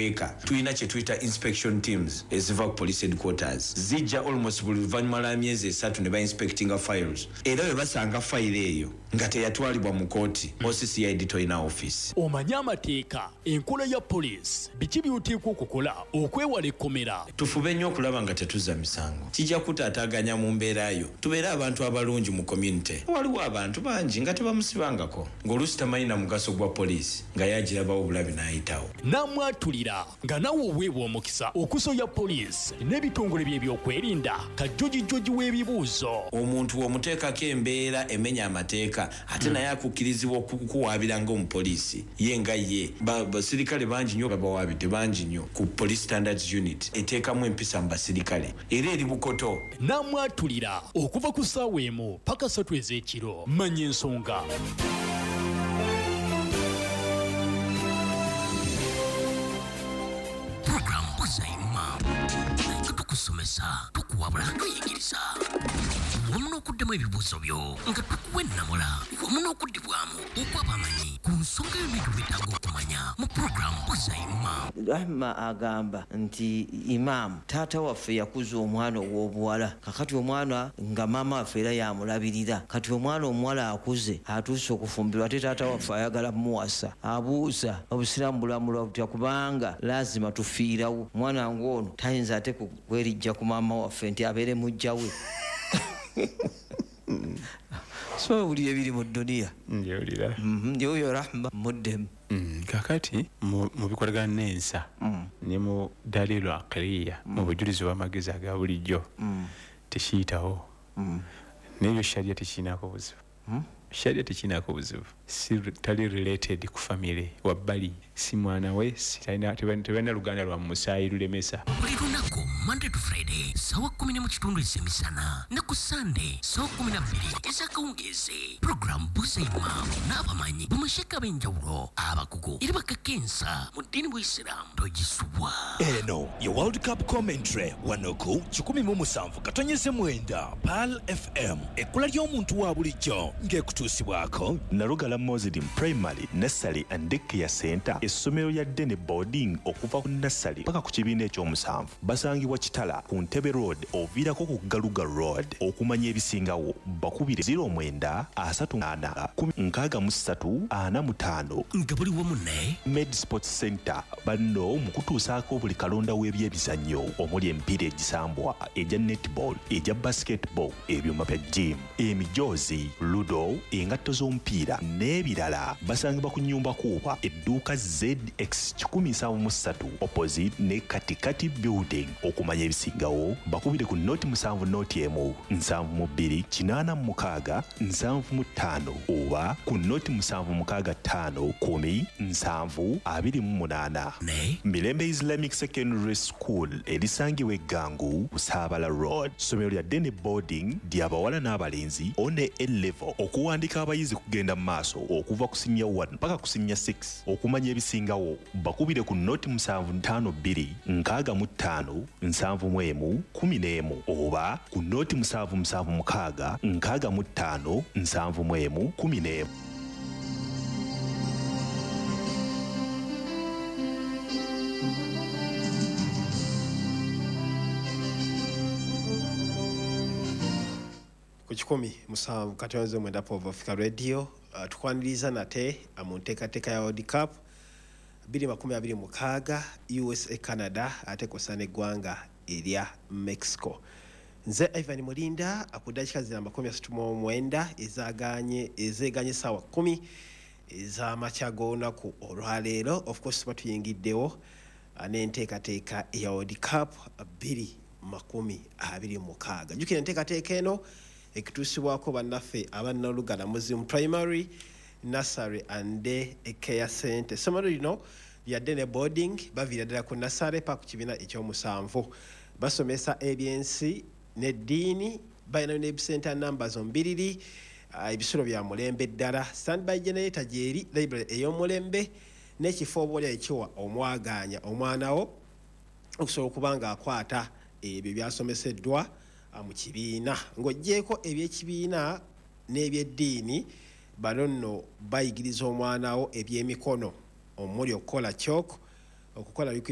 Eka tulina kye tuyita inspection teams eziva ku police headquarters, zijja almost buli luvannyuma lwa myezi 3 ne bainspectinga files, era bwe basanga fayiro eyo nga teyatwalibwa mu kooti, OCCID tolina office. Omanye amateeka, enkola ya poliisi, biki by'oteekwa okukola okwewala ekkomera. Tufube nnyo okulaba nga tetuzza misango, kijja kutaataaganya mu mbeera yo. Tubeere abantu abalungi mu community. Waliwo abantu bangi nga tebamusibangako, ng'oluusi tamanyi na mugaso gwa poliisi, nga ye agirabawo bulabi n'ayitawo. Namwatulira nga nawe oweebwa omukisa okusoya poliisi n'ebitongole by'ebyokwerinda kajjojijjoji w'ebibuuzo. Omuntu bw'omuteekako embeera emenya amateeka ate naye akukkirizibwa okukuwaabira ng'omupoliisi, ye nga ye. Basirikale bangi nnyo babawaabidde, bangi nnyo ku Police Standards Unit eteekamu empisa mu basirikale era eri Bukoto. Namwatulira okuva ku ssaawa 1 paka 3 ez'ekiro. Manya ensonga. Tukusomesa, tukuwabula, tuyigiriza wamu n'okuddamu ebibuuzo byo nga tukuwa ennamula wamu n'okuddibwamu okw'abamanyi ku nsonga yonna gy'oweetaaga okumanya mu puroguramu Buuza Imam. Rahma agamba nti Imam, taata waffe yakuza omwana ow'obuwala, kakati omwana nga maama waffe era yamulabirira, kati omwana omuwala akuze atuuse okufumbirwa ate taata waffe ayagala muwasa. Abuuza obusiraamu bulamulwa butya kubanga lazima tufiirawo, omwana ng'ono tayinza ate kwerijja ku maama waffe nti abeere mujja we. So owulira ebiri mu dduniya. Njawulira. Yoyo Rahma muddemu. Kakati mu bikolagana n'ensa ne mu dalilu aqliya, mu bujulizi bw'amagezi aga bulijjo tekiyitawo. N'ebyo sharia tekirinako buzibu. Sharia tekirinako buzibu. Si tali related ku family wabbali, si mwana we, si tebalina luganda lwa musaayi lulemesa. Buli lunaku Monday to Friday sawa 10:15 ez'emisana ne ku Sunday sawa 12 ez'akawungeezi. Program Buuza Imam n'abamanyi bamasheka ab'enjawulo abakugu era bakakensa mu ddiini bw'Isiraamu togisubwa. Eno ye World Cup commentary wano ku 107.9 Pearl FM, ekkula ly'omuntu wa bulijjo ng'ekutuusibwako Nalugala Muslim Primary Nursery and Daycare Center, essomero lya day ne boarding okuva ku nursery paka ku kibiina ekyomusanvu. Basangibwa Kitala ku Ntebe Road oviirako ku Galuga Road. Okumanya ebisingawo bakubire 09 34 10 63 45. Nga buli wamu ne Med Sports Center banno mu kutuusaako buli kalonda w'ebyemizannyo omuli emipiira egisambwa, egya netball, egya basketball, ebyuma bya gym, emijoozi, ludo, engatto z'omupiira n'ebirala. Basangibwa ku nnyumba Kuuba, edduuka ZX 173 opposite ne Katikati Building. Okumanya ebisingawo bakubire ku 0 7 01 72 86 75 oba ku 0 765 10 7 28. Ne Mirembe Islamic Secondary School erisangibwa Eggangu Busaabala Road. Ssomero lya day ne boarding ly'abawala n'abalenzi one A level. Okuwandika abayizi kugenda mu maaso okuva ku senior 1 paka ku senior 6. Okumanya ebisingawo bakubire ku 0 7 52 65 71 11 oba ku 0 7 7 6 65 71 11. Ku 107.9 Pov Africa Radio, tukwaniriza nate mu nteekateeka ya World Cup 2026 USA Canada ate kw'ossa n'eggwanga erya Mexico. Nze Ivan Mulinda ku ddakiika zina 39 ezeeganye essaawa 10 ez'amakya g'olunaku olwaleero. Of course tuba tuyingiddewo n'enteekateeka ya World Cup 2026. Jjukira enteekateeka eno ekutuusibwako bannaffe aba Nalugala Muslim Primary Nursery and Day Care Center. Essomero lino lya day ne boarding, baviira ddala ku nursery paka ku kibiina ekyomusanvu. Basomesa ebyensi n'eddiini, balina ne center numbers ombiriri, ebisulo bya mulembe ddala. Standby generator gyeri, library ey'omulembe n'ekifo oba oli ekiwa omwagaanya omwana wo okusobola okuba ng'akwata ebyo byasomeseddwa mu kibiina. Ng'oggyeeko ebyekibiina n'ebyeddiini, bano nno bayigiriza omwana wo ebyemikono omuli okukola chalk, okukola liquid